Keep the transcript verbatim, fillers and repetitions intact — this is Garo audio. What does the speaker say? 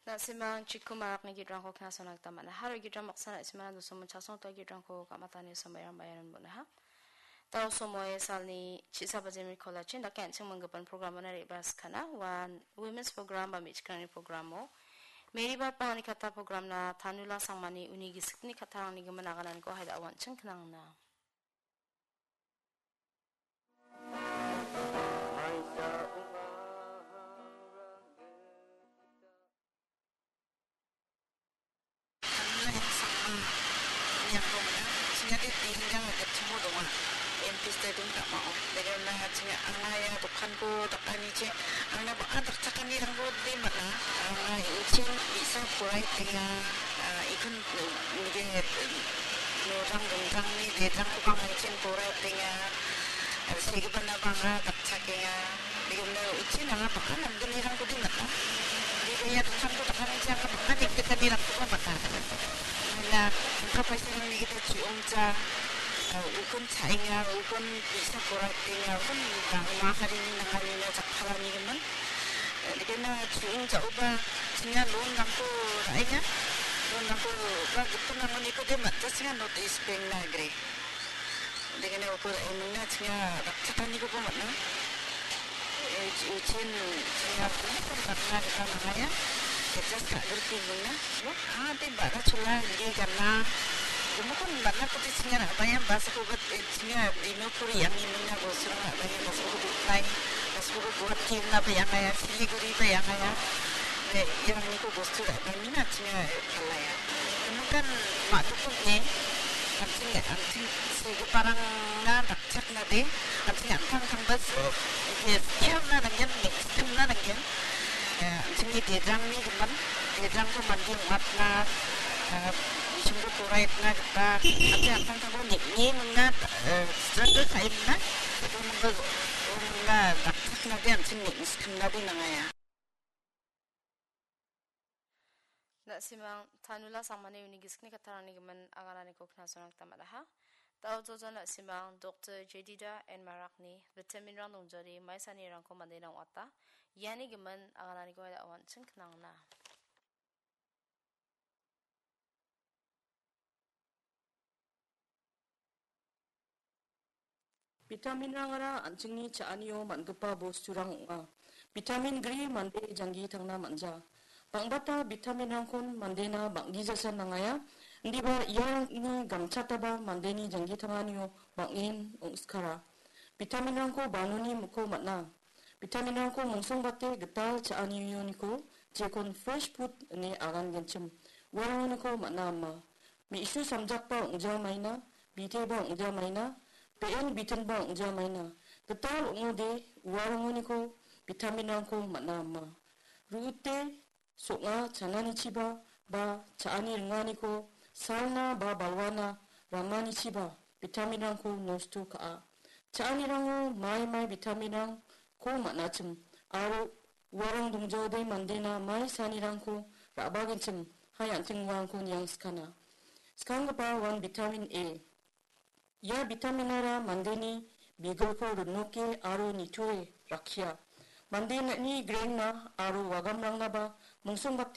Na·simang chikku marakni gitrangko knasona gita man·a. Haro gitram baksa na·simang dosomon chasongta gitrangko gamatani somoirang bayanon bon·aha. Tau somoe salni chisa bajemni kolachin dake an·ching minggipan programona re·baskana. Ua Women's Program ba me·chikrangni programo Mary Bat Pangani katta programna Tanula Sangmani uni gisikni kattarangni gimin agananiko haida awanching knangna. Tanula Sangma niangko mena, singade tingjang agat chimo donga, M P Stadium ka·mao. Degena chinga anga ia dokanko dakanichi, anga bang·a dakchakanirangko de man·a. Anga inchin bi·sa poraitenga, ah, ikun nige, norang ringrangni derangkoba anga inchin poraitenga. Ah, segipana bang·a dakchakenga. Degena inchin anga bang·a namgnirangkode man·a. Dega ia dokanko dakanichi anga bang·a neng·gitanirangkoba man·a. Mela, angka paisarangni gita chi·ongja, ah, ukon cha·enga, ukon bi·sa poratenga, ukon bang·a harini nanganina jakkalanigimin. Eh, degena chi·ong ja·oba, chinga loan-rangko ra·enga. Loan-rangko ba gipin nangoniko de man·jasenga North East Bank-na agre. Degena uko ra·emingna chinga dakchakanikoba man·a. Eh, u-, uchin chinga dakna gita nangaya. Adjust ka·girpimingna. Ah, de ba·ra chola, ge gana. Gemukon ba·na kote chinga ra·baya, basakoba, eh, chinga Dimapur yang imingna bosturang ra·baya, basakoba Dubai, basakoba Guwahati na ba yang aya, Siliguri ba yang aya. Eh, irangniko bostu ra·bamina chinga, eh, palaya. Gemukon ma·dukon ne, an·ching, an·ching segiparangna dak- chakna de, an·ching an·tangtangba so, yes, iamna nanggen, next time-na nanggen. Eh, an·chingni derangni gimin, derangko mande ong·atna, eh, bisingko poraitna gita, an·ching an·tangtangko neng·e mingna, eh, struggle ka·e mingna, mingna, mingna dakchakna de an·ching neng·skimna de nangaya. Na·simang Tanula Sangmani uni gisikni kattarangni gimin agananiko knasona gita man·aha. Dao joja na·simang Doktor Jedida N Marakni vitaminrang dongjari maisanirangko mandena ong·ata. Iani gimin agananiko aida awanching knangna. Vitaminrangara an·chingni cha·anio man·gipa bosturang ong·a. Vitamin gri mande janggi tangna man·ja. Bang·bata vitaminrangkon mandena bang·gijasan nangaya, indiba iarangni gangchataba mandeni janggi tanganio bang·en ong·skara. Vitaminrangko banoni miko man·a. Vitaminrangko mongsongbate gital cha·anioniko, jekon fresh food ine agangenchim, uarangoniko man·a ama. Me·su samjakba ong·jamaina, biteba ong·jamaina, be·en bitinba ong·jamaina, gital ong·ode uarangoniko vitaminrangko man·a ama. Ru·ute song·a chananichiba ba cha·ani ringaniko salna ba balwana ramanichiba vitaminrangko nosto ka·a. Cha·anirango mai mai vitaminrangko man·achim aro uarang dongjaode mandena mai sanirangko ra·bagenchim hai an·ting uarangko niangskana. Skanggipa uan vitamin A. Ia vitaminara mandeni bigilko rinoke aro nitore rakkia. Mandeni grengna aro wagamrangnaba mongsongbate